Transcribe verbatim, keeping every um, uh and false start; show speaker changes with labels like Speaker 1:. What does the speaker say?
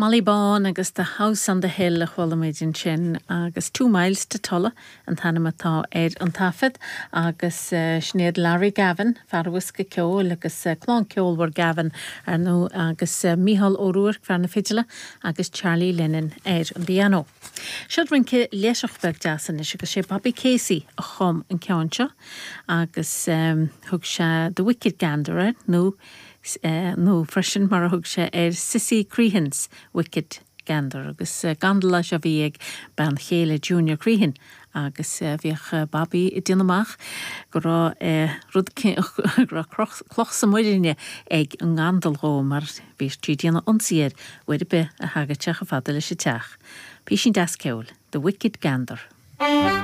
Speaker 1: Molly Bawn agus The House on the Hill a chuala muid ansin agus Two Miles to Tulla an t-ainm atá ar an taifead agus uh, sin iad Larry Gavin fear bhosca ceoil agus uh, clann ceolmhar Gavin ar ndóigh agus uh, Mícheál Ó Ruairc fear na fidle agus Charlie Lennon ar an bpianó. Seo rince léiseach beag deas anois agus sé Bobby Casey a chum an ceann seo agus um, thug sé The Wicked Gander air nó uh, nó freisin mar a thug sé ar Sissy Crehan's Wicked Gander agus uh, gandal a bhí ag bean chéile Junior Crehan agus uh, bhíodh Bobby ag déanamh amach go raibh uh, rud cloch sa muiríne ag an ngandal dhó mar bhí sí ag déanamh ionsaí air uair ar bith a thagadh sé chomh fada leis an teach. Píosín deas ceoil, The Wicked Gander.